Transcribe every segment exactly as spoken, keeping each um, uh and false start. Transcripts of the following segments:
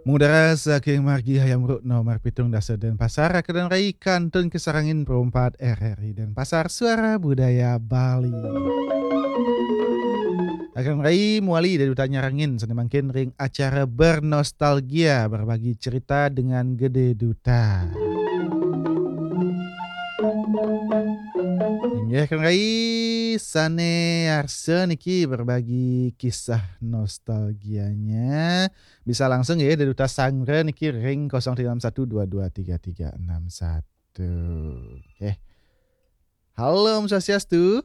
Mudara saking margi Hayam Rukno Marpitung Dasa Denpasar, Akadang Rai kantun kasarengin perumpat R R I Denpasar, Suara Budaya Bali. Akadang Rai muali Gede Duta nyarengin sané mangkin ring acara Bernostalgia, berbagi cerita dengan Gede Duta. Inggih, Akadang Rai sané arsa niki berbagi kisah nostalgianya. Bisa langsung ya, Gede Duta sanggra niki ring kosong tiga enam satu dua dua tiga tiga enam satu. Oke. Halo, Om Swastiastu.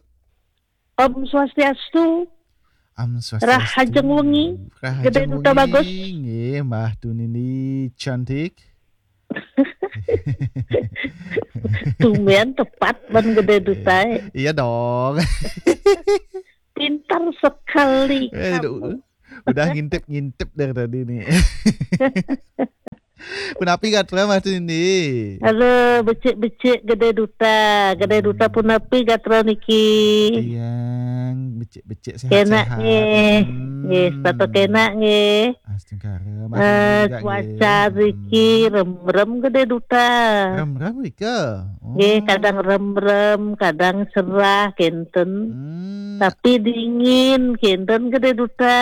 Om Swastiastu. Om Swastiastu. Rahajeng wengi. Rahajeng Gede Duta wengi. Bagus. Nggih, Mbah Tunindi cantik. Tumben tepat ban Gede Duta. Iya dong. Pintar sekali. Eh, kamu. Udah ngintip-ngintip dari tadi nih. Punapi gatra, Mbah Tunindi? Halo, becik-becik Gede Duta. Gede Duta punapi gatra niki? Tiang becik-becik sehat-sehat. Kenak nggih. Hmm. Nggih, setata kenak nggih. Astungkara, Mbah Tunindi juga nggih. Eh, cuaca riki remrem Gede Duta. Remrem rika? Oh. Nggih, kadang remrem, kadang cerah, kenten. Hmm. Tapi dingin, kenten Gede Duta.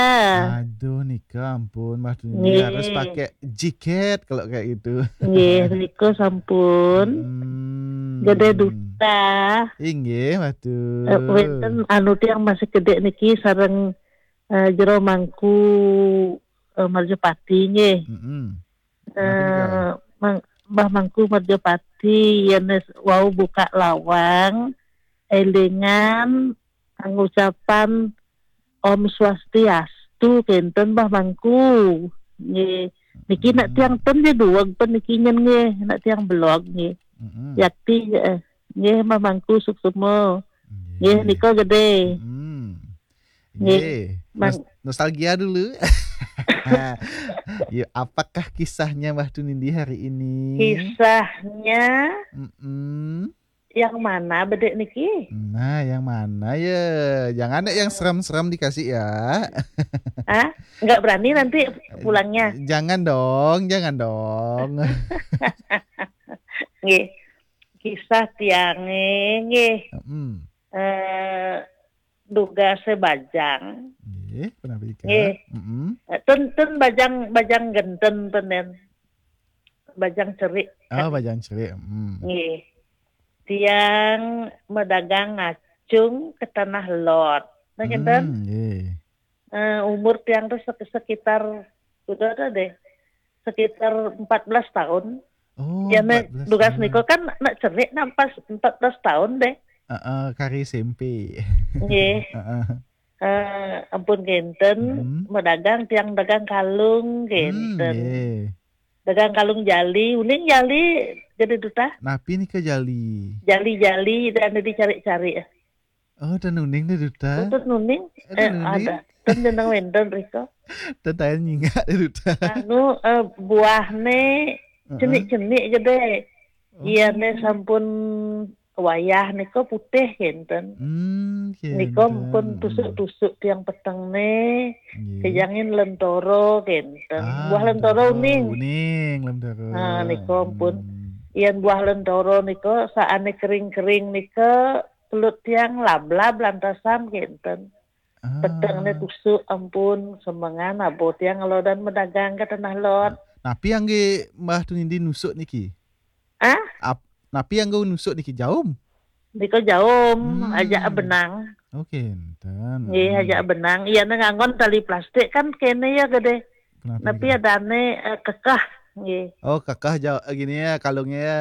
Aduh, nika ampun, Mbah Tunindi harus pakai jaket kalau kayak gitu. Nggih, nika sampun. Hmm. Gede Duta. Inggih, Mbah Tun. Eh, wenten anu tiang masih gede niki sareng, eh, Jero Mangku, eh, Marjapati nggih. Mm-mm. Eh, Mbah Mangku Marjapati, yen wau buka lawang, elingan ngucapan Om Swastiastu, kenten Mbah Mangku. Nggih. Niki nak tiang ten nggih duweg pen niki nyen nggih, nak tiang belog nggih. Mm-mm. Yakti, eh, nggih Mbah Mangku suksma. Nggih, nggih. Nika gede. Mm-mm. Nggih. Nggih, Mang- nos-, nostalgia dulu. Ya, apakah kisahnya Mbah Tunindi hari ini? Kisahnya Mm-mm. Yang mana bedek niki? Nah, yang mana ya? Jangan deh yang serem-serem dikasih ya. Ah, nggak berani nanti pulangnya. Jangan dong, jangan dong. Nggih. Kisah tiange nggih. Mm-mm. Eh, dugase bajang. Nggih, punapi ika? Nggih. Mm-mm. Eh, ten, ten bajang, bajang genten ten, ten. Bajang cerik. Oh, bajang cerik. Mm. Nggih. Tiang medagang ngacung ke Tanah Lot. Nah, kenten? Mm, nggih. Eh, umur tiang tuh sek-, sekitar, udah ada deh, sekitar empat belas tahun. Oh, ya, empat belas tahun. Dugas niko kan nak cerik nak pas empat belas tahun deh. Heeh, kari S M P. Nggih. Heeh. Eh, ampun kenten, hmm, medagang tiang dagang kalung kenten. Hmm, nggih. Dagang kalung jali, uning jali Gede Duta. Napi nika jali? Jali-jali dan dicari-cari. Oh, dan uning Gede Duta. Tutut nuning. Eh, ada. Ten jeneng wenten riko. Ten tayan nyingak Gede Duta. Anu, eh, buahne cenik-cenik gede. Oh. Iyane sampun wayah nika putih kenten. Hmm, nika kenten. Pun tusuk-tusuk tiang petengne, nggih, kejangin lentoro kenten. Ah, buah lentoro, lentoro uning. Uning, lentoro. Nah, nika pun. Hmm. Yen buah lentoro nika saane kering-kering nika, kelut tiang lablab lantasan kenten. Ah. Petengne tusuk, ampun, semengan abo tiang ngelodan medagang ke Tanah Lot. Napi angge Mbah Tunindi nusuk niki? Ah? Ap-, napi angge nusuk niki, jaum? Nika jaum, hmm, ajak benang. Oh, kenten. Nggih, hmm, ajak benang. Iyane nganggon tali plastik kan kene ya gede. Kenapa? Napi gitu? Adane, eh, kekeh, nggih. Oh, kekeh ja-, gini ya, kalungnya ya.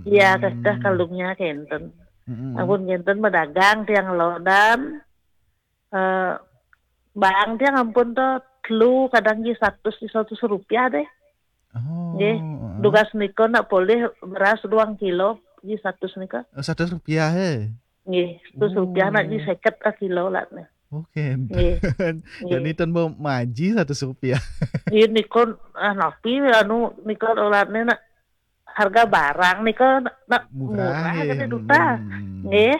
Iya, hmm, kekeh kalungnya kenten. Mm-mm. Ampun kenten medagang tiang lodan. Eh, bang tiang ampun to telu kadang ji seratus, ji seratus rupiah deh. Oh, nggih. Heeh. Dugas nika nak polih beras ruang kilo ji seratus nika. Oh, seratus rupiah, he? Nggih, seratus rupiah nak ji seket ka kilo lah nih. Oke. Nggih. Jadi nggih. Ten bo maji seratus rupiah. Nggih, nika, ah, napi anu nika olatne nak harga barang nika nak murah, murah ya, Gede Duta. Hmm. Nggih.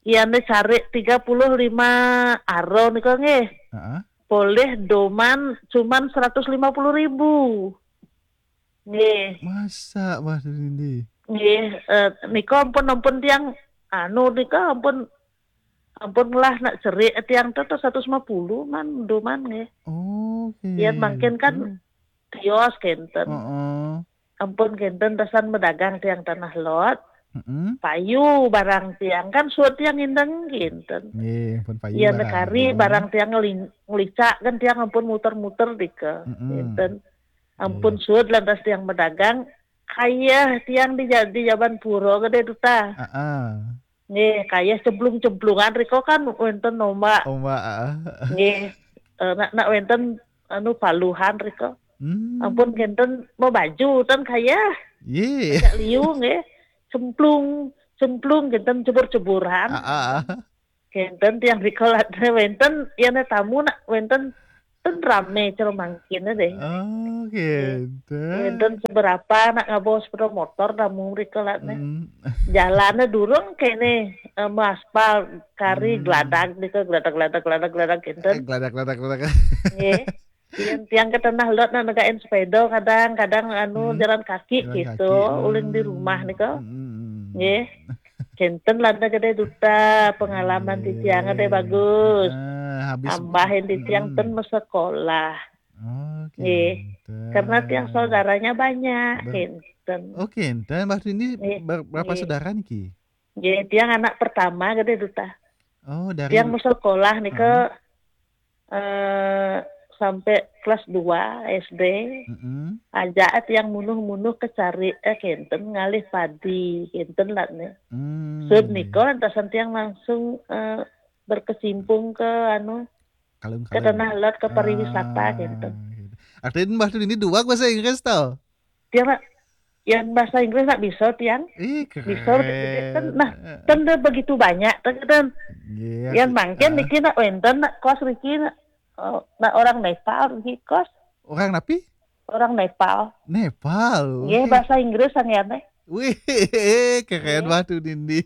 Iyane cari tiga puluh lima aro nika nggih. Heeh. polih doman cuman seratus lima puluh ribu. Nggih. Masa, Mbah Dindi? Nggih, eh, nika ampun, ampun tiang anu nika ampun, ampun ngelah nak cerik tiang to, to seratus lima puluh man doman nggih. Oke. Yen mangkin kan tios kenten. Heeh. Ampun kenten tasan medagang tiang Tanah Lot. Heeh. Payu barang tiang kan suud tiang indeng kenten. Nggih, ampun payu. Yen barang kari barang tiang ngeling-, ngelicak kan tiang ampun muter-muter dika. Heeh. Kenten. Ampun suud lantas tiang medagang, kayeh tiang di ja-, di jaban pura gede duta. Heeh. Nggih, kayeh cemplung-cemplungan riko kan wenten ombak. Ombak, heeh. Nggih. Eh, nak, nak wenten anu paluhan riko. Hmm. Ampun kenten mau baju tan kayeh. Ye. Agak liu nggih. Cemplung, cemplung kenten cebur-ceburan. Heeh. Kenten tiang riko latne wenten, yen tamu nak wenten, ten rame cara mangkin deh. Oh, kenten. Wenten seberapa nak ngabo sepeda motor tamu riko latne. Hmm. Jalannya durung kene, eh, aspal kari geladak nika, geladak, geladak, geladak, geladak kenten. Eh, geladak, geladak, geladak. Nggih. Yen tiang ke Tanah Lot nak negain sepeda kadang, kadang anu jalan kaki gitu, uling di rumah nika. Hmm. Nggih. Kenten landa gede duta pengalaman titiang gede bagus. Ah, habis. Tambahin titiang ten mesekolah. Oh, nggih. Kenten. Karena tiang saudaranya banyak, kenten. Oh, kenten. Mbah Dini ber-, berapa saudara niki? Nggih, tiang anak pertama gede duta. Oh, dari tiang mesekolah nika eh, sampai kelas dua S D, aja tiang munuh-munuh kecari, eh, kenten ngalih padi, kenten lah nih. Hmm, suud nika lantasan tiang langsung, eh, berkecimpung ke anu, ke Tanah Lot, ke pariwisata kenten. Artinya Mbah Dini dua bahasa Inggris tau? Tiang nak, yang bahasa Inggris nak bisa tiang. Ih, keren. Bisa, kan, nah, kan dia begitu banyak, kan. Iya, yang mangkin niki nak wenten, nak kos riki nak, oh, nak orang Nepal riki kos. Orang napi? Orang Nepal. Nepal. Nggih, bahasa Inggris sangiane. Wih, keren banget tuh, Dindi.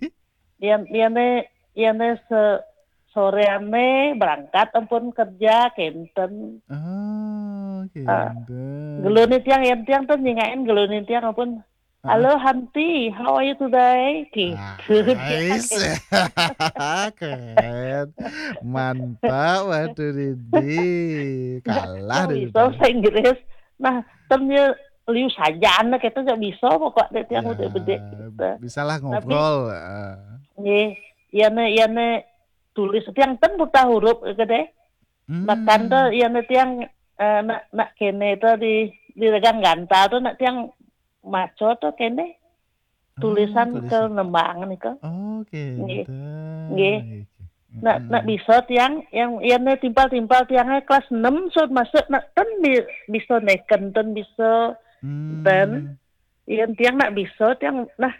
Yen, yene, yene se-, soreane berangkat ampun kerja kenten. Oh, kenten. Gelone tiang, yen tiang tuh nyingain gelone tiang ampun. "Halo, Hanti, how are you today?" Gitu. Nice. Keren. Mantap, waduh, Dindi. Kalah deh. Bisa bahasa Inggris. Nah, tem ya liu saja anak itu gak bisa pokok deh tiang udah bedek gitu. Bisalah ngobrol. Nggih, yene, yene tulis tiang ten buta huruf gitu deh. Hmm. Makan tuh yene tiang, eh, nak, nak kene tuh di, di regang gantal tuh nak tiang maco tuh kene. Tulisan ke nembang nika. Oh, nggih. Nggih. Nak, nak bisa tiang yang, yang timpal-timpal tiangnya kelas enam sudah masuk nak ten bi-, bisa neken ten bisa ten. Yang tiang nak bisa tiang nah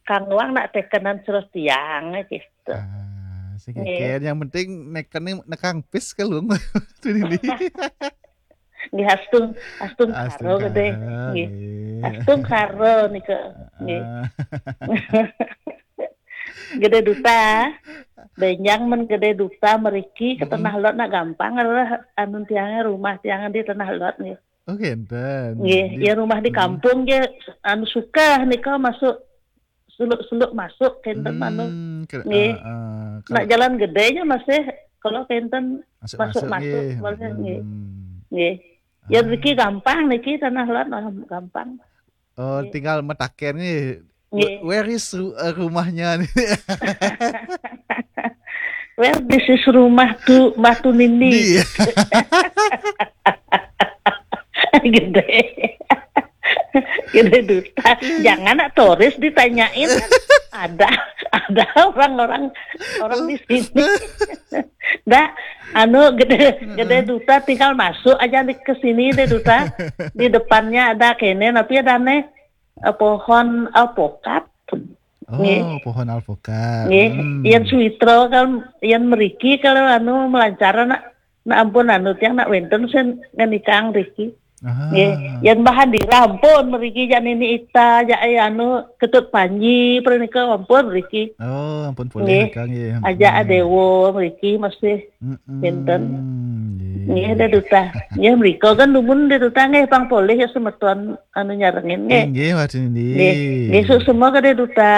kang wang nak tekenan terus tiang gitu. Ah, sing nggih. Yang penting neken nekang pis ke luung. Tuh ini. Nggih, astung, astung karo gede. Nggih. Astung karo nika. Nggih. Gede duta. Benjang men gede duta meriki ke Tanah Lot nak gampang adalah anu tiangnya rumah tiangan di Tanah Lot nggih. Oh, kenten. Nggih, ya rumah di kampung nggih anu suka nika masuk seluk-seluk masuk kenten anu. Nggih. Nak jalan gedenya masih kalau kenten masuk-masuk nggih. Nggih. Ya niki gampang niki Tanah Lot gampang. Oh, tinggal metaken nih. Nggih. Where is ru-, eh, rumahnya nih? Where this is rumah tu Batu Nindi. Gede. Gede duta. Jangan nak turis ditanyain. Ada, ada orang-orang, orang di sini. Dah, anu gede, gede duta tinggal masuk aja di, ke sini deh duta. Di depannya ada kene, tapi ada nih, eh, pohon alpokat. Oh, pohon alpokat. Nggih, yang suwitra kan, yang meriki kalau anu melancaran nak, nak ampun anu tiang nak wenten sen ngenikang riki. Nggih, yang bahan dirampun meriki jak nini ita, jak anu ketut panji pernika ampun meriki. Oh, ampun boleh nggih. Aja adewo meriki masih wenten. Nggih, Dé Duta. Nggih, mriko kan dumun Dé Duta nggih, pang polih ya semeton anu nyarengin nggih. Inggih, Wah Tunindi. Nggih, nggih, suksma ka Dé Duta.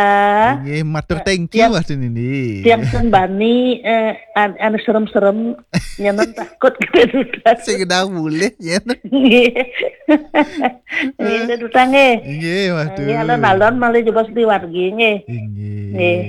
Inggih, matur thank you, tiang, Wah Tunindi. Tiang sembani, eh, an-, anu serem-serem, nyanan takut ka Dé Duta. Sing gedang mulih, ya. Nggih. Nggih, Dé Duta nggih. Inggih, Wah Tun. Nggih, alon-alon malih jebos di wargi nggih. Inggih. Nggih.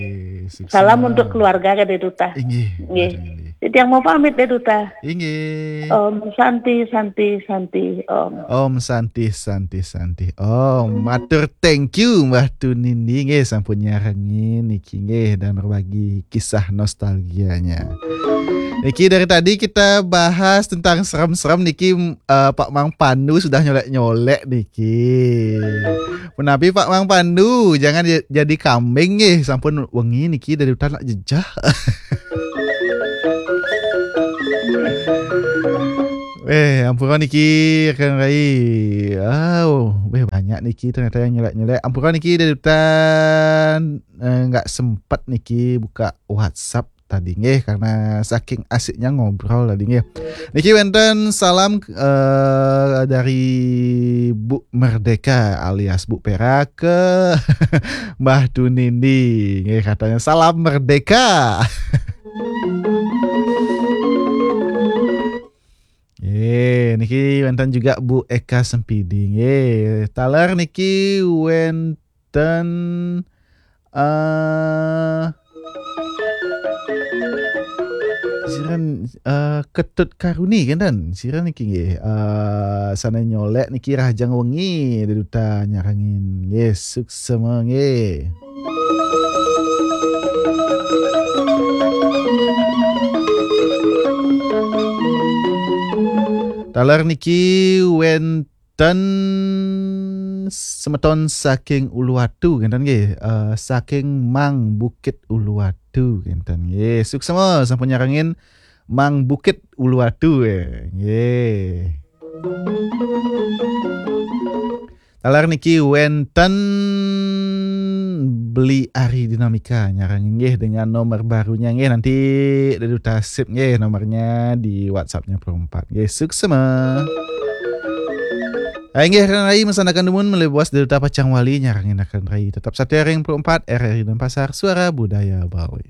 Sukses. Salam untuk keluarga ka Dé Duta. Inggih, Wah Tun, inggih. Tiang mau pamit Dé Duta. Inggih. Om Santi, Santi, Santi, Om. Om Santi, Santi, Santi, Om. Matur thank you, Mbah Tunindi, nggih, sampun nyarengin niki, nggih, dan berbagi kisah nostalgianya. Niki, dari tadi kita bahas tentang serem-serem niki, eh, Pak Mang Pandu sudah nyolek-nyolek niki. Punapi Pak Mang Pandu, jangan ja-, jadi kambing nggih, sampun wengi niki Dé Duta nak jejeh. Eh, ampura niki, rekan rai. Au, weh, banyak niki ternyata yang nyelek-nyelek. Ampura niki, Dé Duta, eh, nggak sempat niki buka WhatsApp tadi nggih, karena saking asiknya ngobrol tadi nggih. Niki wenten salam, eh, dari Bu Merdeka alias Bu Perak ke Mbah Tunindi nggih, katanya salam merdeka. Eh, niki wenten juga Bu Eka Sempidi nggih. Taler niki wenten, eh, siran, eh, Ketut Karuni, kenten. Siran niki nggih. Eh, sana nyolek niki rahajeng wengi, Dé Duta nyarengin. Nggih, suksma nggih. Taler niki wenten semeton saking Uluwatu, kenten nggih. Eh, saking Mang Bukit Uluwatu, kenten nggih. Suksma sampun nyarengin Mang Bukit Uluwatu, eh. Nggih. Taler niki wenten Beli Ari Dinamika nyarengin nggih dengan nomor barunya nggih, nanti Dé Duta sip nggih nomornya di WhatsApp-nya Pro empat. Nggih, suksma. Hai nggih, rekan rai, mesanakan dumun malih buas Dé Duta pacang wali nyarengin rekan rai. Tetap setia ring Pro empat, R R I Denpasar, Suara Budaya Bali.